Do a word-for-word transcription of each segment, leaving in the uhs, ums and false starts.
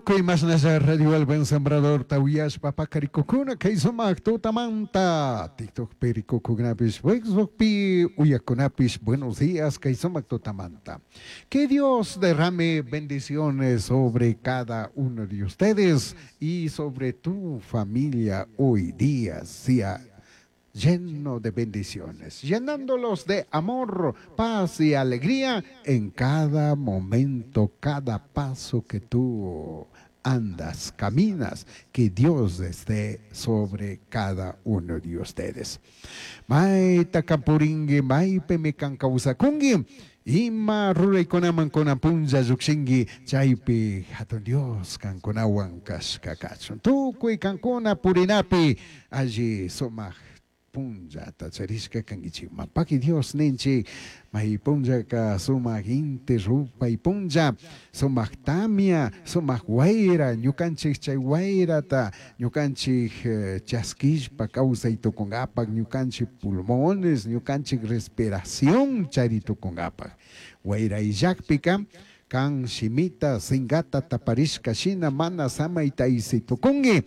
Tukuy mashnalla Radio El Buen Sembrador uyashpa pakarikukuna kay sumak tutamanta TikTokpi rikukunapish Facebookpi uyakunapish buenos días kay sumak tutamanta. Que Dios derrame bendiciones sobre cada uno de ustedes y sobre tu familia hoy día sea lleno de bendiciones, llenándolos de amor, paz y alegría en cada momento, cada paso que tú andas, caminas, que Dios esté sobre cada uno de ustedes. Maita kampuringi, maypimi kan kawsakunki, ima ruraykunaman kunan punlla llukshinki, chaypi hatun Dios kankunawan kashka kachun. Tukuy kankuna purinapi alli sumak punllata charishka kankichikman. Paki Dios ninchik, may punllaka sumak inti rupay punlla, sumak tamia, sumak wayra, ñukanchik chay wayrata, ñukanchik chaskishpa kawsay tukunkapak, ñukanchik pulmones, ñukanchik respiración chari tukunkapak. Wayra illakpika, kan shimita, sinkata taparishka shina mana samayta tukunki,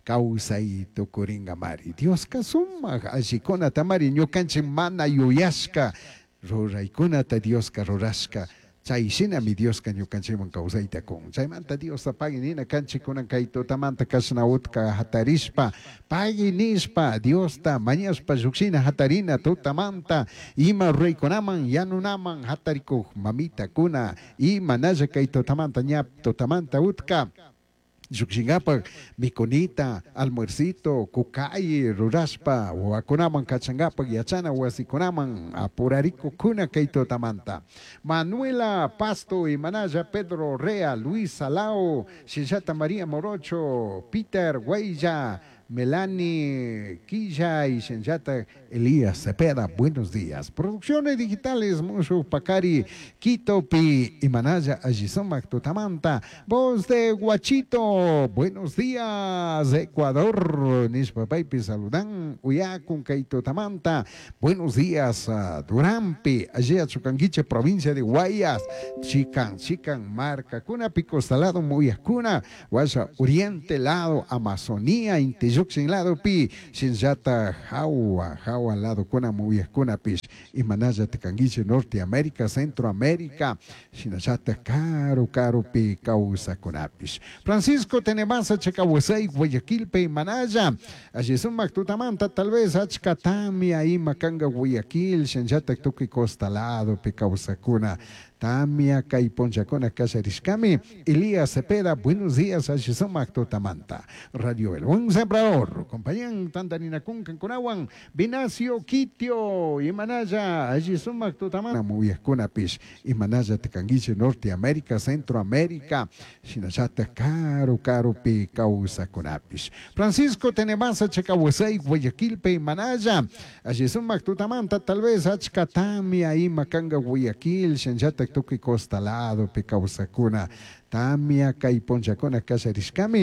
kawsay tukurinkamari. Dioska sumak allikunata ñukanchik mana yuyashka ruraykunata Dioska rurashka chay shinami Dioska ñukanchikman kawsayta kun. Chaymanta Diosta pagui nina kanchik kunan kay tutamanta kashna utka hatarishpa pagui nishpa Diosta mañashpa llukshina hatarina tutamanta ima ruraykunaman yanunaman hatarikuk mamitakuna y manalla kay tutamanta ña tutamanta utka llukshinkapak mikunita, almuercito, kukay rurashpa wawakunaman kachankapak yachana wasikunaman apurarikukuna kay tutamanta. Manuela Pasto y Manaya Pedro Rea, Luis Salao, Shillata María Morocho, Peter Guaya, Melanie Quilla y Shenjata Elías Cepeda, buenos días. Producciones digitales, Mushu Pacari, Quito Pi y Manaya Allizomac Tutamanta, voz de Guachito, buenos días, Ecuador, Nishpapaypi saludan, Uyacun Kaito Tamanta, buenos días, uh, Durampi, allí a Chucanguiche, provincia de Guayas, Chican, Chican, Marca, Cuna, Pico Salado, Muyacuna, Guaya, Oriente, lado, Amazonía, Inti llukshin lado pi shinllata jawa jawa lado kuna muyajkunapish imanalla kankichik Norteamérica Centroamérica shinallata karu karupi kawsakunapish Francisco Tenemasa Chacawasay Guayaquilpi imanalla alli sumak tutamanta tal vez achka tamia ima kanka Guayaquil shinallata tukuy costa ladopi kawsakuna tamia kay punllakuna kallarishkami Elías Cepeda buenos días alli sumak tutamanta Radio El Buen Sembrador compañían tantaninakun kankunawan Vinacio Quitio imanalla alli sumak tutamanta muyajkunapish imanalla kankichik Norteamérica Centroamérica shinallata karu karupi kawsakunapish Francisco Tenemasa Chacawasay Guayaquilpi imanalla alli sumak tutamanta tal vez achka tamia ima kanka Guayaquil shinallata tukuy costa ladopi kawsakuna tamia kay punllakuna kallarishkami.